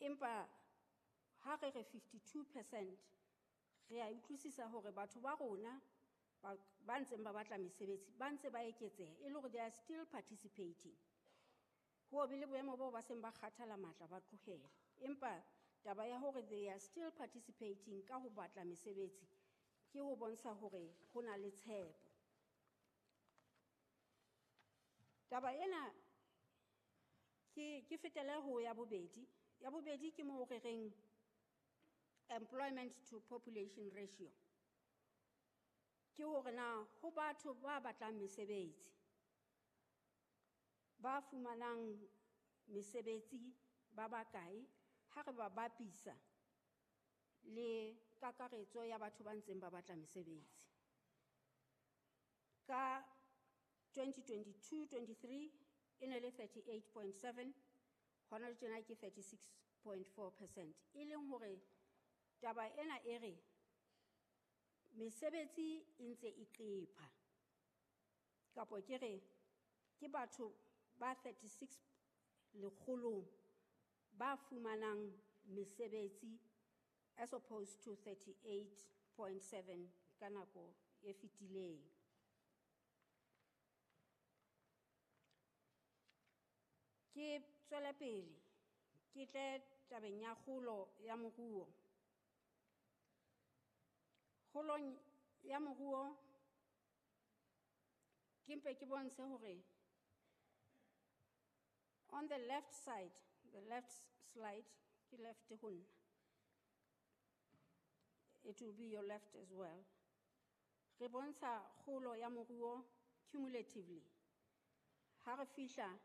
Empa ha re re 52% re a utlwisisa hore batho ba rona ba ntseng ba batla mesebetsi ba ntse ba eketseha, e le hore they are still participating. Ho be le boemo boo ba seng ba kgathala matla ba tlohela, empa taba ya hore they are still participating ka ho batla mesebetsi ke ho bontsha hore ho na le tshepo. Taba ena ke fetele ho ya bobedi. Ya bobedi ke moo re reng employment to population ratio. Ke hore na ho batho ba batlang mesebetsi, ba fumanang mesebetsi ba bakae ha re ba bapisa le kakaretso ya batho ba ntseng ba batla mesebetsi. Ka 2022-23 e ne le 38.7, hona tjena ke 36.4%. E leng hore taba ena e re mesebetsi e ntse e qepha, kapo ke re ke batho ba 36 lekgolong ba fumanang mesebetsi as opposed to 38.7 ka nako e fetileng. Ke tswele pele ke tle tabeng ya kgolo ya moruo. Kgolong ya moruo ke mpe ke bontshe hore on the left side, the left slide, ke left ho nna. It will be your left as well. Re bontsha kgolo ya moruo cumulatively. Ha re fihla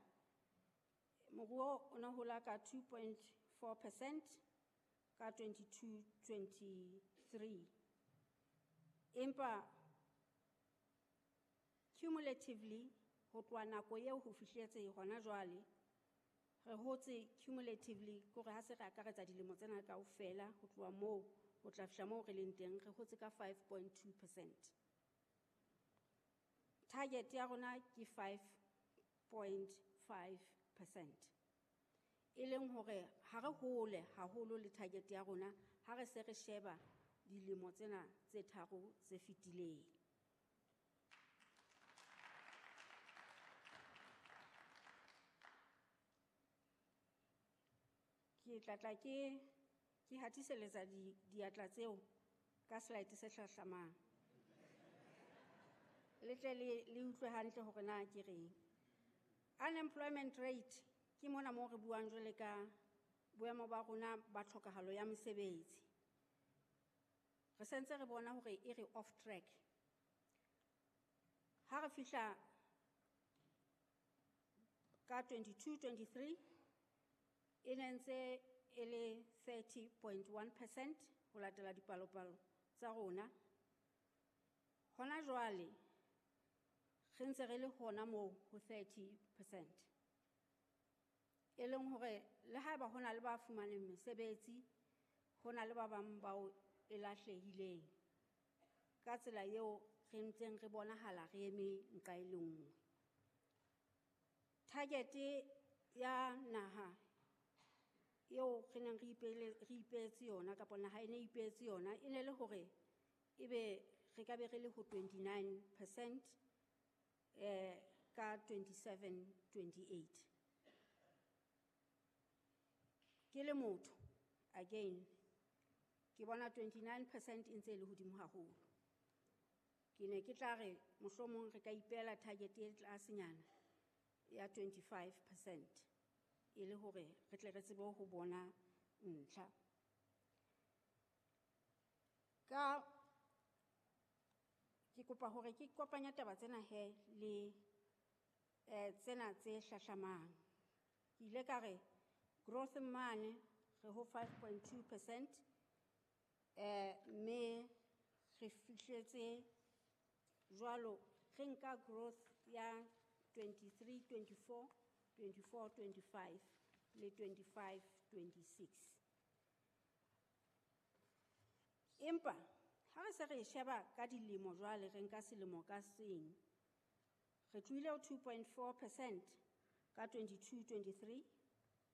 moruo o ne hola ka 2.4% ka 22-23. Empa cumulatively ho tloha nako eo ho fihletse hona jwale, re hotse cumulatively kore ha se re akaretsa dilemo tsena kaofela ho tloha moo ho tla fihla moo re leng teng, re hotse ka 5.2%. Target ya rona ke 5.5%. E leng hore ha re hole haholo le target ya rona ha re se re sheba dilemo tsena tse tharo tse fetileng. Ke tla tla ke hatiseletsa diatla tseo ka slide se hlahlamang. Le tle le utlwe hantle hore na ke reng. Unemployment rate ke mona moo re buang jwale ka boemo ba rona ba tlhokahalo ya mesebetsi. Re sentse re bona hore e re off track. Ha re fihla ka 22-23 e ne ntse e le 30.1% ho latela dipalopalo tsa rona. Hona jwale re ntse re le hona moo ho 30%. E leng hore le haeba hona le ba fumaneng mesebetsi, hona le ba bang bao e lahlehileng. Ka tsela eo re ntseng re bonahala re eme nqa e le nngwe. Target ya naha eo re neng re ipeetse yona kapa naha e ne ipeetse yona e ne le hore ebe re ka be re le ho 29% ka 27-28. Ke le motho again ke bona 29% e ntse e le hodimo haholo. Ke ne ke tla re mohlomong re ka ipeela target e tlasenyana ya 25% e le hore re tle re tsebe ho bona ntlha. Ka ke kopa hore ke kopanya taba tsena he le tsena tse hlahlamang. Ke ile ka re growth mane re ho 5.2% mme re fihletse jwalo re nka growth ya 23-24, 24-25 le 25-26. Empa ha re se re sheba ka dilemo jwale re nka selemo ka seng, re tlohile ho 2.4% ka 22-23,